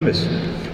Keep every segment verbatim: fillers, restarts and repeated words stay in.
эмес.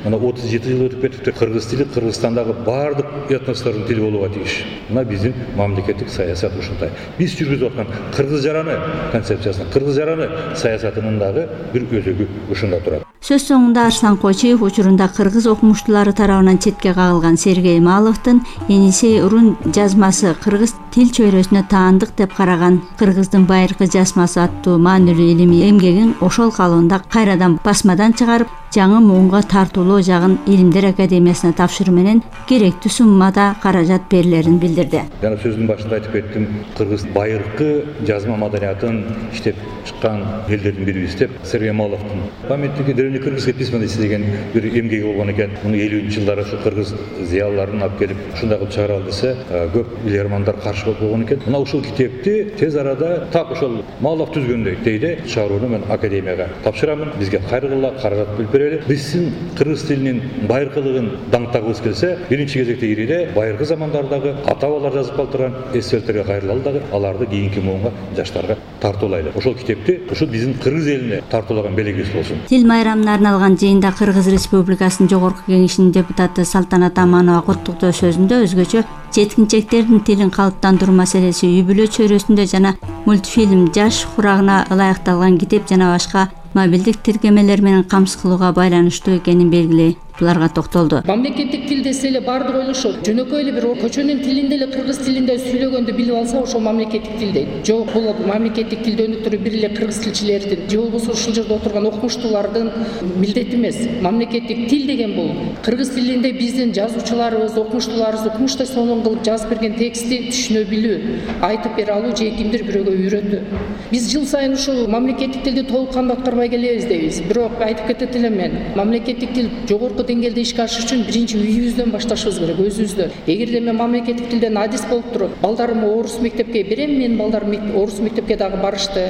Мына отуз жети жыл өтүп кетипти. Кыргыз тили Кыргызстандагы бардык этностордун тили болууга тийиш. Мына биздин мамлекеттик саясат ушундай. Биз жүргүзүп аткан кыргыз жараны концепциясынын, кыргыз жараны саясатынын дагы бир өзөгү ушунда турат. Сөз соңунда Арслан Койчиев учурунда кыргыз окумуштуулары тарабынан четке кагылган Сергей Маловдун Енисей урун жазмасы кыргыз тил чөйрөсүнө таандык деп караган Кыргыздын байыркы жазмасы аттуу маанилүү илимий эмгегин ошол калыбында кайрадан басмадан чыгарып, жаңы муунга тартуулоо жагын Илимдер академиясына тапшыруу менен керектүү суммада каражат берилерин билдирди. Жана сөздүн башында айтып кеттим, кыргыз байыркы жазма маданиятын иштеп чыккан элдердин бирибиз деп Сергей Маловдун памяттиги древнекыргызское письменности деген бир эмгеги болгон экен. Муну элүүнчү жылдары ушу кыргыз зыялыларын алып келип ушундай кылып чыгара ал десе, көп билермандар каршы болуп болгон экен. Мына ушул китепти тез арада так ошол Малов түзгөндөй дейди, чыгарууну мен академияга тапшырамын. Бизге кайрылгыла, каражат бөлүп берели. Биздин кыргыз тилинин байыркылыгын даңктагыбыз келсе, биринчи кезекте ириде байыркы замандардагы ата-бабалар жазып калтырган эсселерге кайрылалы дагы, аларды кийинки муунга жаштарга тартуулайлы. Ошол китепти ушу биздин кыргыз элине тартуулаган белегибиз болсун. Тил майрамына арналган жыйында Кыргыз Республикасынын Жогорку Кеңешинин депутаты Салтанат Аманова куттуктоо сөзүндө өзгөчө жеткинчектердин тилин калыптандыруу маселеси үй бүлө чөйрөсүндө жана мультфильм жаш курагына ылайыкталган китеп жана башка мобилдик тиркемелер менен камсыз кылууга байланыштуу экенин белгилей буларга токтолду. Мамлекеттик тил десе эле баардыгы ойлошот. Жөнөкөй эле бир көчөнүн тилинде эле кыргыз тилинде сүйлөгөндү билип алса, ошол мамлекеттик тил дейт. Жок, бул мамлекеттик тилди өнүктүрүү бир эле кыргыз тилчилердин же болбосо ушул жерде отурган окумуштуулардын милдети эмес. Мамлекеттик тил деген бул кыргыз тилинде биздин жазуучуларыбыз, окумуштууларыбыз окумуштай сонун кылып жазып берген текстти түшүнө билүү, айтып бере алуу же кимдир бирөөгө үйрөтүү. Биз жыл сайын ушул мамлекеттик тилди толук кандуу аткарбай келебиз дейбиз. Бирок айтып кетет элем мен, мамлекеттик тил жогорку деңгээлде ишке ашыш үчүн биринчи үйүбүздөн башташыбыз керек, өзүбүздөн. Эгерде мен мамлекеттик тилден адис болуп туруп, балдарымды орус мектепке берем, мен балдарым орус мектепке дагы барышты,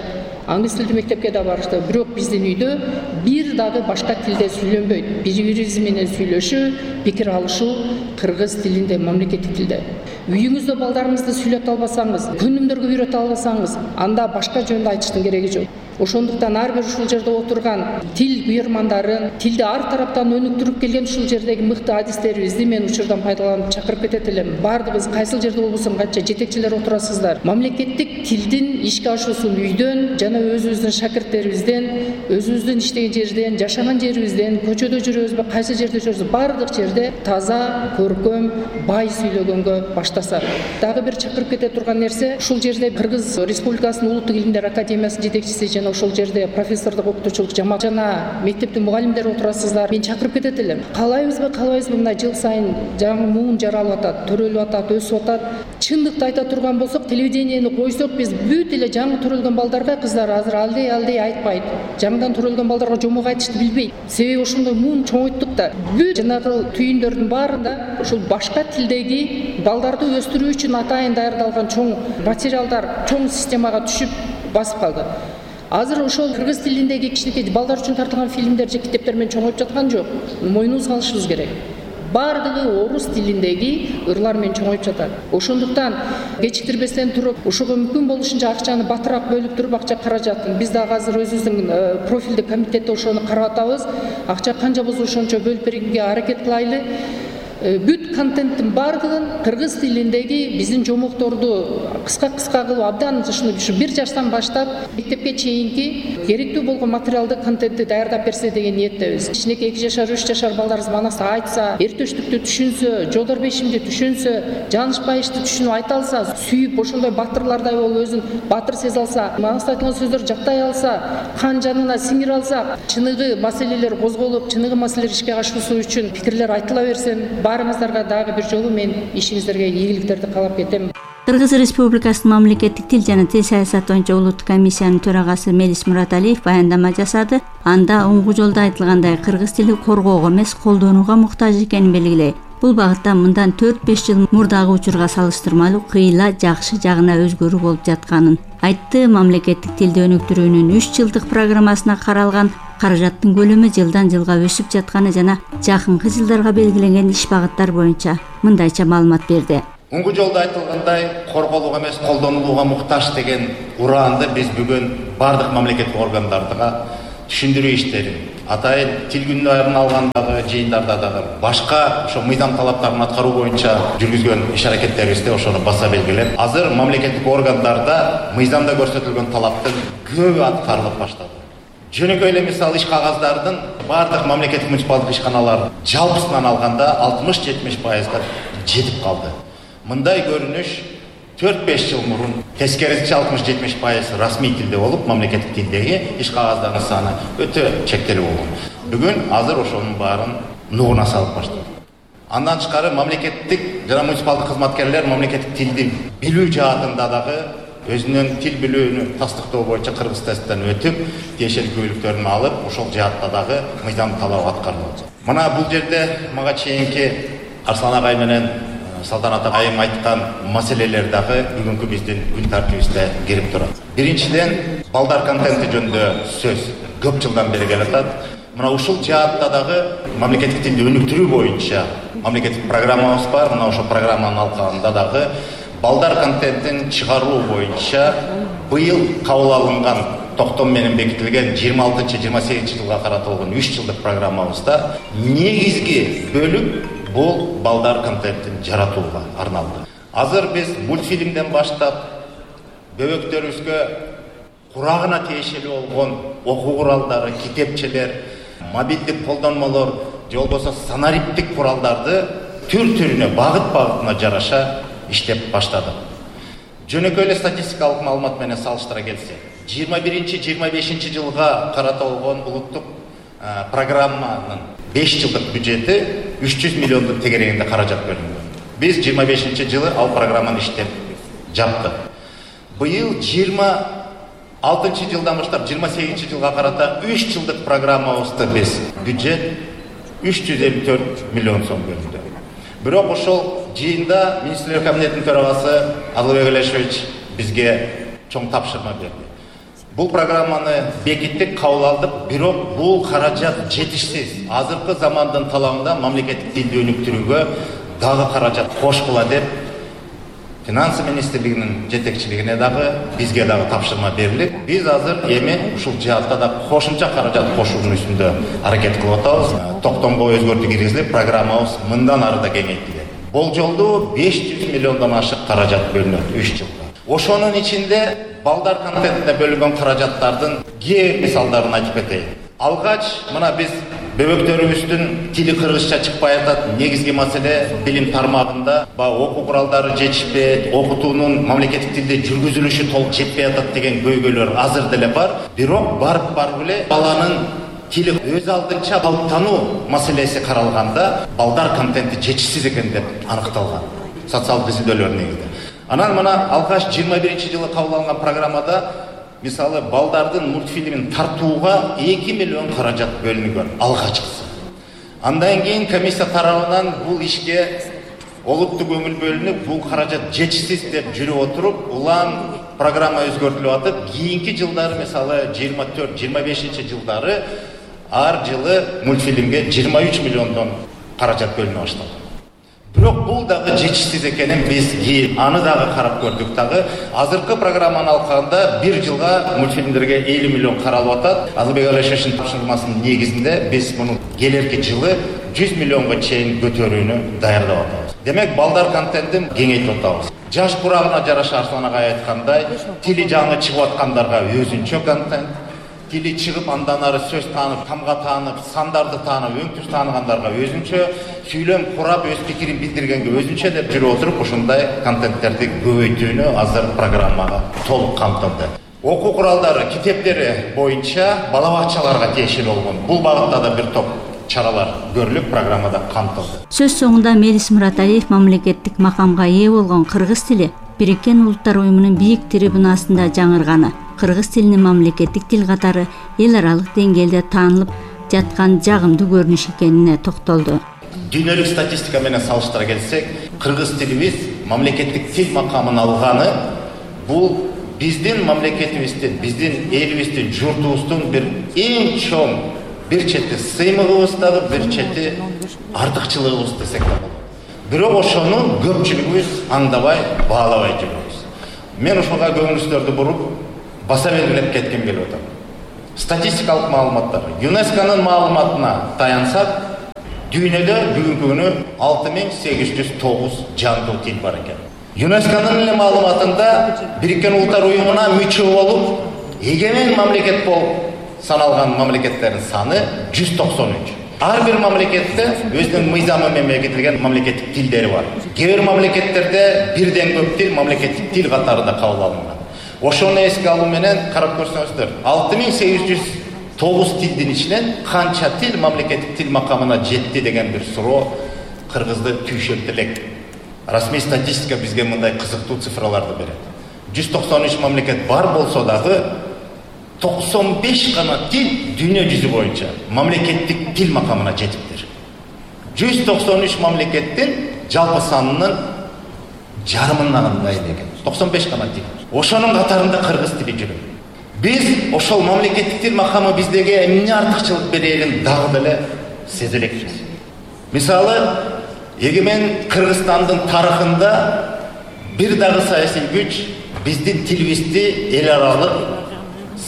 англис тилдүү мектепке да барышты. Бирок биздин үйдө бир дагы башка тилде сүйлөнбөйт. Бири-бирибиз менен сүйлөшүү, пикир алышуу кыргыз тилинде, мамлекеттик тилде. Үйүңүздө балдарыңызды сүйлөтө албасаңыз, күнүмдөргө үйрөтө албасаңыз, анда башка жөндө айтыштын кереги жок. Ошондуктан ар бир ушул жерде отурган тил буйрмандарын, тилди ар тараптан өнүктүрүп келген ушул жердеги мыкты адистерибизди мен учурдан пайдаланып чакырып кетет элем. Бардыгыбыз кайсыл жерде болбосун канча жетекчилер отурасыздар. Мамлекеттик тилдин ишке ашуусун үйдөн жана өзүбүздүн шакирттерибизден, өзүбүздүн иштеген жерден, жашаган жерибизден, көчөдө жүрөбүзбү, кайсы жерде жүрөбүз, бардык жерде таза, көркөм, бай сүйлөгөнгө баштасак. Дагы бир чакырып кете турган нерсе, ушул жерде Кыргыз Республикасынын Улуттук Илимдер академиясынын жетекчиси ошол жерде профессордук окутуучулук жамаат жана мектептин мугалимдери отурасыздар. Мен чакырып кетет элем. Каалайбызбы, каалайбызбы, мына жыл сайын жаңы муун жаралып атат, төрөлүп атат, өсүп атат. Чындыкты айта турган болсок, телевидениени койсок, биз бүт эле жаңы төрөлгөн балдарга кыздар азыр алдей алдей айтпайт. Жаңыдан төрөлгөн балдарга жомок айтышты билбейт. Себеби ошондой муун чоңойттук да. Бүт жанагы түйүндөрдүн баарында ушул башка тилдеги балдарды өстүрүү үчүн атайын даярдалган чоң материалдар, чоң системага түшүп басып калды. Азыр ошол кыргыз тилиндеги кичинекей балдар үчүн тартылган фильмдер же китептер менен чоңоюп жаткан жок. Мойнубузга алышыбыз керек. Бардыгы орус тилиндеги ырлар менен чоңоюп жатат. Ошондуктан кечиктирбестен туруп, ушуга мүмкүн болушунча акчаны батыраак бөлүп туруп, акча каражатын биз дагы азыр өзүбүздүн профилдик комитетте ошону карап атабыз. Акча канча болсо ошончо бөлүп бергенге аракет кылайлы. Бүт контенттин бардыгын кыргыз тилиндеги биздин жомокторду кыска-кыска кылып абдан ушуну бир жаштан баштап мектепке чейинки керектүү болгон материалды контентти даярдап берсе деген ниеттебиз. Кичинекей эки жашар, үч жашар балдарыбыз манас айтса, эртөштүктү түшүнсө, Жодор Бешимди түшүнсө, Жаныш Байышты түшүнүп айта алса, сүйүп ошондой батырлардай болуп өзүн батыр сезе алса, манаста айтылган сөздөр жактай алса, кан жанына сиңире алса, чыныгы маселелер козголуп, чыныгы маселелер ишке ашуусу үчүн пикирлер айтыла берсен, баарыңыздарга дагы бир жолу мен ишиңиздерге ийгиликтерди каалап кетем. Кыргыз Республикасынын мамлекеттик тил жана тил саясаты боюнча улуттук комиссиянын төрагасы Мелис Мураталиев баяндама жасады. Анда оңгу жолдо айтылгандай кыргыз тили коргоого эмес, колдонууга муктаж экенин белгилей. Бул багытта мындан төрт-беш жыл мурдагы учурга салыштырмалуу кыйла жакшы жагына өзгөрүү болуп жатканын айтты. Мамлекеттик тилди өнүктүрүүнүн үч жылдык программасына каралган каражаттын көлөмү жылдан жылга өсүп жатканы жана жакынкы жылдарга белгиленген иш багыттар боюнча мындайча маалымат берди. Оңгу жолдо айтылгандай корголууга эмес, колдонулууга муктаж деген ураанды биз бүгүн бардык мамлекеттик органдарга түшүндүрүү иштерин атайын тил күндөрүн алгандагы жыйындарда дагы башка ошо мыйзам талаптарын аткаруу боюнча жүргүзгөн иш аракеттерибизде ошону баса белгилеп, азыр мамлекеттик органдарда мыйзамда көрсөтүлгөн талаптын көбү аткарылып баштады. Жөнөкөй эле мисалы иш кагаздардын бардык мамлекеттик муниципалдык ишканалар жалпысынан алганда алтымыш жетимиш пайызга жетип калды. Мындай көрүнүш төрт беш жыл мурун тескерисинче алтымыш жетимиш пайыз расмий тилде болуп, мамлекеттик тилдеги иш кагаздардын саны өтө чектелүү болгон. Бүгүн азыр ошонун баарын нугуна салып баштады. Андан тышкары мамлекеттик жана муниципалдык кызматкерлер мамлекеттик тилди билүү жаатында дагы өзүнүн тил билүүнү тастыктоо боюнча кыргыз тесттен өтүп, тиешелүү күбөлүктөрүн алып, ошол жаатта дагы мыйзам талабы аткарылат. Мына бул жерде мага чейинки Арслан агай менен Салтанат айым айткан маселелер дагы бүгүнкү биздин күн тартибибизде кирип турат. Биринчиден, балдар контенти жөнүндө сөз көп жылдан бери келатат. Мына ушул жаатта дагы мамлекеттик тилди өнүктүрүү боюнча мамлекеттик программабыз бар. Мына ошол программанын алкагында дагы балдар контентин чыгаруу боюнча быйыл кабыл алынган токтом менен бекитилген жыйырма алтынчы жыйырма сегизинчи жылга каратылган үч жылдык программабызда негизги бөлүк бул балдар контентин жаратууга арналды. Азыр биз мультфильмден баштап бөбөктөрүбүзгө курагына тиешелүү болгон окуу куралдары, китепчелер, мобилдик колдонмолор, же болбосо санариптик куралдарды түр-түрүнө, багыт-багытына жараша иштеп баштадык. Жөнөкөй эле статистикалык маалымат менен салыштыра келсек, жыйырма биринчи жыйырма бешинчи жылга каратылган улуттук программанын беш жылдык бюджети үч жүз миллиондун тегерегинде каражат бөлүнгөн. Биз жыйырма бешинчи жылы ал программаны иштеп жаптык. Быйыл жыйырма алтынчы жылдан баштап жыйырма сегизинчи жылга карата үч жылдык программабызды биз бюджет үч жүз элүү төрт миллион сом бөлүндү. Бирок ошол жыйында министрлер кабинетинин төрагасы Адылбек Алешевич бизге чоң тапшырма берди. Бул программаны бекиттик, кабыл алдык, бирок бул каражат жетишсиз. Азыркы замандын талабында мамлекеттик тилди өнүктүрүүгө дагы каражат кошкула деп Финансы министрлигинин жетекчилигине дагы бизге дагы тапшырма берилип, биз азыр эми ушул жаатта да кошумча каражат кошуунун үстүндө аракет кылып атабыз. Токтомго өзгөртүү киргизилип, программабыз мындан ары да кеңейтилет. Болжолдуу беш жүз миллиондон ашык каражат бөлүнөт үч жылда. Ошонун ичинде балдар контентине бөлүнгөн каражаттардын кээ мисалдарын айтып кетейин. Алгач мына биз бөбөктөрүбүздүн тили кыргызча чыкпай атат. Негизги маселе билим тармагында баягы окуу куралдары жетишпейт, окутуунун мамлекеттик тилде жүргүзүлүшү толук жетпей атат деген көйгөйлөр азыр деле бар. Бирок барып барып эле баланын тили өз алдынча калыптануу маселеси каралганда балдар контенти жетишсиз экен деп аныкталган социалдык изилдөөлөр негизинде. Анан мына алгач жыйырма биринчи жылы кабыл алынган программада мисалы балдардын мультфильмин тартууга эки миллион каражат бөлүнгөн алгачкысы. Андан кийин комиссия тарабынан бул ишке олуттуу көңүл бөлүнүп, бул каражат жетишсиз деп жүрүп отуруп, улам программа өзгөртүлүп атып, кийинки жылдары мисалы жыйырма төрт жыйырма бешинчи жылдары ар жылы мультфильмге жыйырма үч миллиондон каражат бөлүнө башталды. Бирок бул дагы жетишсиз экенин биз кийин аны дагы карап көрдүк дагы. Азыркы программаны алганда бир жылга мультфильмдерге элүү миллион каралып атат. Адылбек Алешевичтин тапшырмасынын негизинде биз муну келерки жылы жүз миллионго чейин көтөрүүнү даярдап атабыз. Демек, балдар контентин кеңейтип атабыз. Жаш курагына жараша Арслан агай айткандай, тили жаңы чыгып аткандарга өзүнчө контент, тили чыгып андан ары сөз таанып, тамга таанып, сандарды таанып, өңтүз тааныгандарга өзүнчө, сүйлөм курап, өз пикирин билдиргенге өзүнчө деп жүрүп отуруп, ушундай контенттерди көбөйтүүнү азыр программага толук камтылды. Окуу куралдары, китептери боюнча бала бакчаларга тиешелүү болгон бул багытта да бир топ чаралар көрүлүп, программада камтылды. Сөз соңунда Мелис Мураталиев мамлекеттик макамга ээ болгон кыргыз тили Бириккен Улуттар Уюмунун бийик трибунасында жаңырганы, кыргыз тилинин мамлекеттик тил катары эл аралык деңгээлде таанылып жаткан жагымдуу көрүнүш экенине токтолду. Дүйнөлүк статистика менен салыштыра келсек, кыргыз тилибиз мамлекеттик тил макамын алганы бул биздин мамлекетибиздин, биздин элибиздин, журтубуздун бир эң чоң бир чети сыймыгыбыз дагы, бир чети артыкчылыгыбыз десек да болот. Бирок ошону көпчүлүгүбүз аңдабай, баалабай жүрөбүз. Мен ошого көңүлүңүздөрдү буруп, баса белгилеп кеткем келип атам. статистикалык маалыматтар. ЮНЕСКОнун маалыматына таянсак, дүйнөдө бүгүнкү күнү алты миң сегиз жүз тогуз жандуу тил бар экен. ЮНЕСКонун эле маалыматында Бириккен Улуттар Уюмуна мүчө болуп, эгемен мамлекет болуп саналган мамлекеттердин саны жүз токсон үч. Ар бир мамлекетте өзүнүн мыйзамы менен бекитилген мамлекеттик тилдери бар. Кээ бир мамлекеттерде бирден көп тил мамлекеттик тил катарында кабыл алынган. Ошону эске алуу менен карап көрсөңүздөр, алты миң сегиз жүз тогуз тилдин ичинен канча тил мамлекеттик тил макамына жетти деген бир суроо кыргызды түйшөлтө элек. Расмий статистика бизге мындай кызыктуу цифраларды берет. жүз токсон үч мамлекет бар болсо дагы токсон беш гана тил дүйнө жүзү боюнча мамлекеттик тил макамына жетиптир. жүз токсон үч мамлекеттин жалпы санынын жарымынан ыңгай экен. токсон беш гана тил. Ошонун катарында кыргыз тили жүрөт. Биз ошол мамлекеттик тил макамы биздеги эмне артыкчылык берерин дагы деле сезе элекпиз. Мисалы, эгемен Кыргызстандын тарыхында бир дагы саясий күч биздин тилибизди эл аралык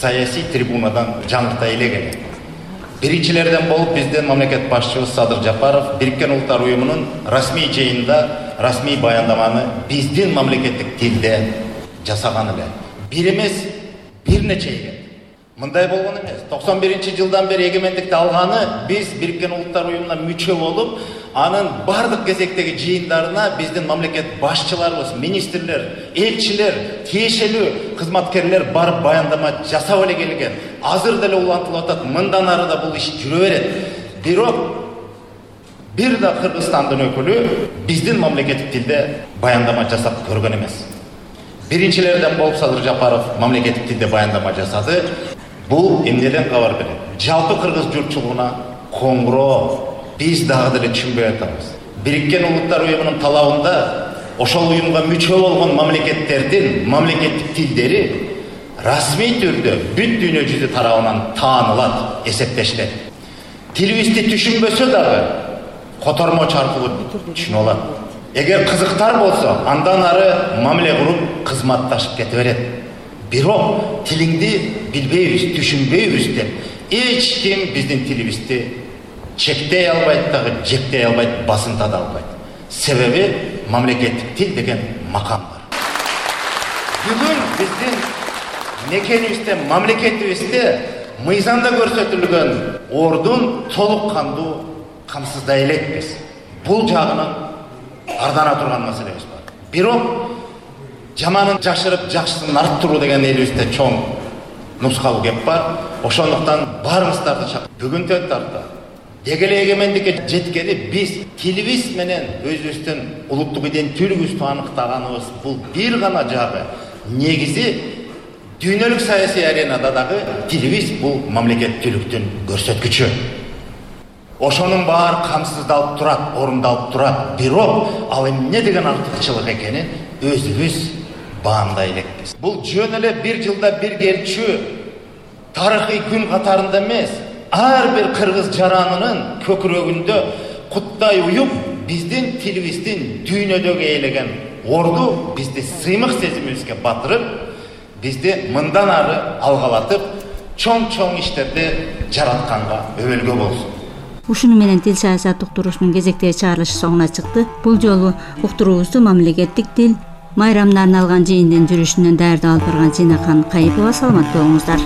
саясий трибунадан жаңырта элеген. Биринчилерден болуп биздин мамлекет башчыбыз Садыр Жапаров Бириккен Улуттар Уюмунун расмий жыйынында расмий баяндаманы биздин мамлекеттик тилде жасаган эле. Бир эмес, бир нече эгем. Мындай болгон эмес. токсон биринчи жылдан бери эгемендикти алганы биз Бириккен Улуттар Уюмуна мүчө болуп, анын бардык кезектеги жыйындарына биздин мамлекет башчыларыбыз, министрлер, элчилер, тиешелүү кызматкерлер барып баяндама жасап эле келген. Азыр деле улантылып атат, мындан ары да бул иш жүрө берет. Бирок бир да Кыргызстандын өкүлү биздин мамлекеттик тилде баяндама жасап көргөн эмес. Биринчилерден болуп Садыр Жапаров мамлекеттик тилде баяндама жасады. Бул эмнеден кабар берет? Жалпы кыргыз журтчулугуна коңгуроо биз дагы деле түшүнбөй атабыз. Бириккен Улуттар Уюмунун талабында ошол уюмга мүчө болгон мамлекеттердин мамлекеттик тилдери расмий түрдө бүт дүйнө жүзү тарабынан таанылат, эсептешилет. Тилибизди түшүнбөсө дагы котормоч аркылуу түшүнө алат. Эгер кызыктар болсо, андан ары мамиле куруп кызматташып кете берет. Бирок тилиңди билбейбиз, түшүнбөйбүз деп эч ким биздин тилибизди чектей албайт дагы, жектей албайт, басынта да албайт. Себеби мамлекеттик тил деген макам бар. Бүгүн биздин мекенибизде, мамлекетибизде мыйзамда көрсөтүлгөн ордун толук кандуу камсыздай элекпиз. Бул жагынан ардана турган маселебиз бар. Бирок жаманын жашырып, жакшысын арттыруу деген элибизде чоң нускалуу кеп бар. Ошондуктан баарыбыздарды чакырып, бүгүндөн тарта деги эле эгемендикке жеткени биз тилибиз менен өзүбүздүн улуттук иденттүүлүгүбүздү аныктаганыбыз бул бир гана жагы. Негизи дүйнөлүк саясий аренада дагы тилибиз бул мамлекеттүүлүктүн көрсөткүчү. Ошонун баары камсыздалып турат, орундалып турат. Бирок ал эмне деген артыкчылык экенин өзүбүз баамдай элекпиз. Бул жөн эле бир жылда бир келчү тарыхый күн катарында эмес, ар бир кыргыз жаранынын көкүрөгүндө куттай уюп, биздин тилибиздин дүйнөдөгү ээлеген орду бизди сыймык сезимибизге батырып, бизди мындан ары алгалатып, чоң-чоң иштерди жаратканга өбөлгө болсун. Ушуну менен тил саясат уктуруусунун кезектеги чыгарылышы соңуна чыкты. Бул жолу уктуруубузду мамлекеттик тил майрамына арналган жыйындын жүрүшүнөн даярдап алып барган Зинакан Кайыпова. Саламат болуңуздар.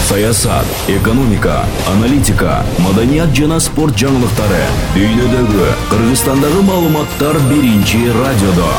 Саясат, экономика, аналитика, маданият жана спорт жаңылыктары, дүйнөдөгү, Кыргызстандагы маалыматтар биринчи радиодо.